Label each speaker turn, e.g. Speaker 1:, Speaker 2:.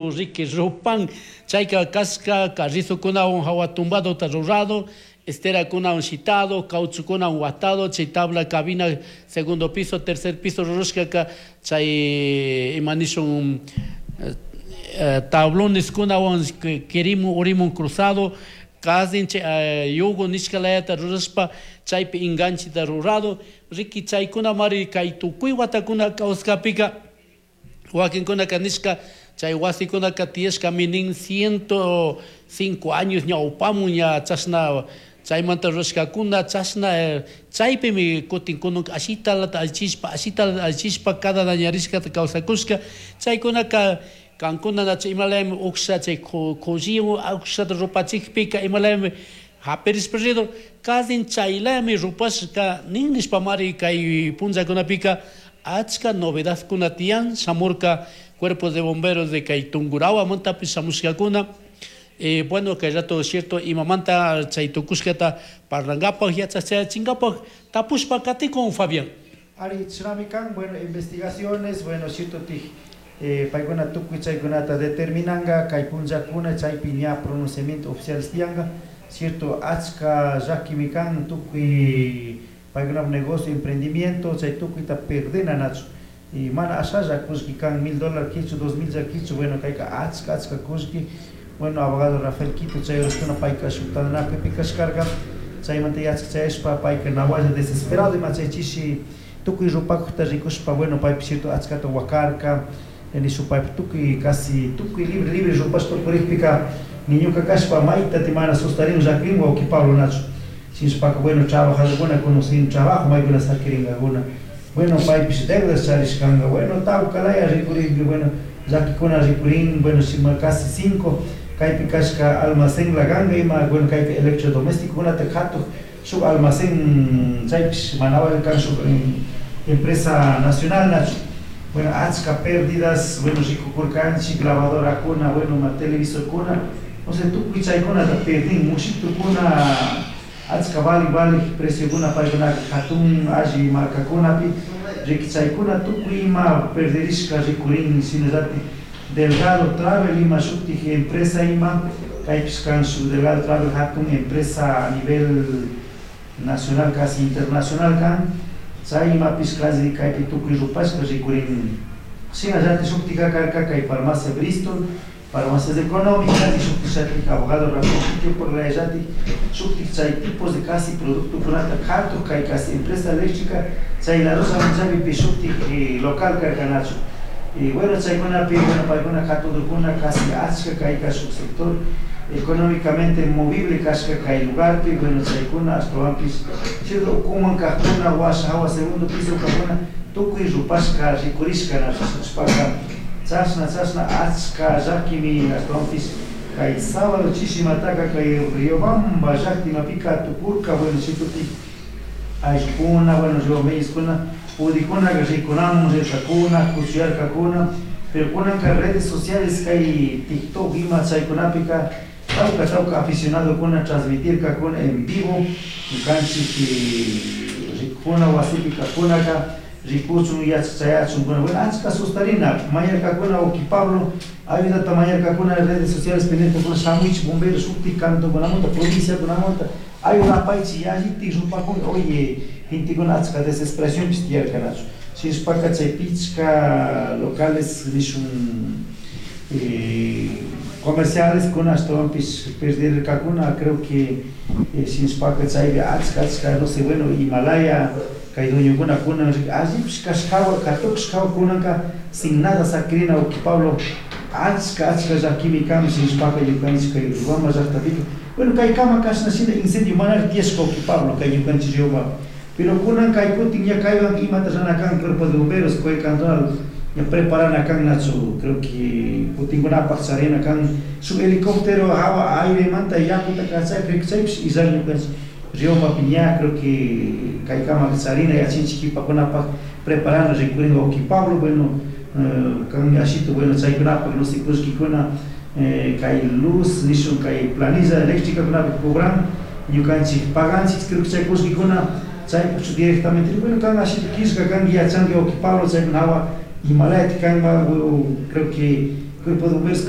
Speaker 1: Riki rupan chayka kashka carrizokunawan hawa tumbadota rurado, esterakunawan shitado, cauchokunawan watado, chay tabla cabina segundo piso, tercer piso rurashkaka chay ima nishun tabloneskunawan kirimun urimun cruzado, kasin chay yugo nishka layata rurashpa chaypi enganchita rurado. Riki chaykunamari kay tukuy watakuna kawsakpika wakinkunaka nishka chay wasikunaka tiyashkami nin 105 años ñawpamun ña chashna chaymanta rurashkakuna chashna chaypimi kutin kunanka ashitalata allichishpa ashitalata allichishpa cada dañarishkata kawsakushka chaykunaka kankuna nachu imalayami uksha chay kulliwan ukshata rupachikpika imalayami hapirishpa ridur kasin chaylayami rupashka nin nishpamari kay punllakunapika achka novedadkuna tiyan shamurka cuerpos de bomberos de kay Tungurahuamantapish shamushkakuna. Bueno, kay rato cierto imamanta chay tukushkata parlankapak yachachinkapak tapushpa katikun, Fabián.
Speaker 2: Ari chashnami kan, bueno, investigaciones, bueno, cierto tij paykuna tukuy chaykunata determinanga kay punllakuna chaypi ña pronunciamiento oficiales tiyanga, cierto, achka llakimi kan tukuy paykunapa negocio, emprendimiento chay tukuyta perdena nachu y mana ashalla kullki kan $1000 kichu 2000 kichu, bueno, kayka achka achka kullki. Bueno, abogado Rafael Quito chay horaskuna payka shuk tantanakuypi kashkarka chaymanta yachak chayashpa payka nawalla desesperado ima chay chishi tukuy rupakukta rikushpa, bueno, paypish cierto achkata wakarka nishu paypi tukuy casi tukuy libre libre rupashpa purikpika ni ñuka kashpa mayta mana sustarin llakirin wawki Pablo nachu shinashpaka, bueno, trabajadorkuna conocen trabajo maykuna saquirinkakuna, bueno, paypish deudas charishkanka, bueno, tawkalaya rikurinpi, bueno, llakikuna rikurin, bueno, shima casi cinco kaypi kashka almacén laganga ima, bueno, kayka electrodomesticokunata katuk shuk almacén chaypish mana kan shuk empresa nacional nachu, bueno, achka pérdidas, bueno, rikukurkanchik lavadorakuna, bueno, ma televisorkuna, o sea, tukuy chaykunata perdin mushitukuna achka vali vali preciokuna paykunaka hatun alli markakunapi riki chaykuna tukuy ima perderishka rikurin. Shinallatik Delgado Travel ima shutik empresa ima kaypish kan shuk Delgado Travel hatun empresa a nivel nacional, casi internacional kan chay imapish casi kaypi tukuy rupashka rikurin. Shinallatik shuktika karka kay farmacia Bristol, farmacias económicas y shuktik abogado Rafael por la shuktik chay tipos de casi productokunata katuk kay casi empresa eléctrica chay La Rosa chaypi shuktik local karkanachu y bueno, chaykunapi, bueno, paykuna katudurkuna casi achka kayka shuk sector económicamente movible kashka kay lugarpi, bueno, chaykuna ashtawanpish cierto ukuman kajkuna washa hawa segundo piso kajkuna tukuy rupashka rikurishka nashpaka chashna chashna achka llakimi ashtawanpish kay sábado chishimataka kay Riobamba llaktimapika tukurka, bueno, chitutik ayllukuna, bueno, riobameyeskuna pudikuna rikunamun rirkakuna kuchuyarkakuna, pero kunanka redes sociales kay TikTok ima chaykunapika tawka tawka aficionadokuna transmitirkakuna en vivo ñukanchik rikuna wasipi kakunaka rikuchun yachachayachun, bueno, achka sustarina mañarkakuna uki Pablo ayudata mañarkakuna redes sociales pendientekuna shamuychik bomberos shuktik cantonkunamanta provinciakunamanta ayudapaychik yallitik rupakun, oye, gentekuna achka desesperacionpish tiyarkanachu shinashpaka chay pichka locales nishun comerciales kuna ashtawanpish perderkakuna, creo que shinashpaka chaypi achka achka no sé, bueno, Himalaya kay dueñokuna kunan allipish kashkawa katukushkawa kunanka sin nada sakirina uki Pablo achka achka llakimi kan shinashpaka ñukanchik kay Riobamba llaktapika, bueno, kay kama kashna shina incendio manari tiyashka uki Pablo kay ñukanchik Riobamba, pero kunan kay kutin ña kaywan imata rana kan cuerpo de bomberos kay cantonal ña preparana kan nachu, creo que kutinkunapak charina kan shuk helicóptero hawa airemanta yakuta kachay, creo que chaypish illan ñukanchik Riobambapi ña creo que kay kama charina yachinchik kipakunapak preparana rikurin uki Pablo, bueno, kan ashitu, bueno, chaykunapak no sé kullkikuna kay luz nishun kay planilla eléctrica kunapi cobran ñukanchik paganchik, creo que chay kullkikuna chaypuchu directamente, bueno, kan ashitu killka kan yachanki uki Pablo chaykuna hawa Himalaya kanma, creo que Cuerpo de Bomberos.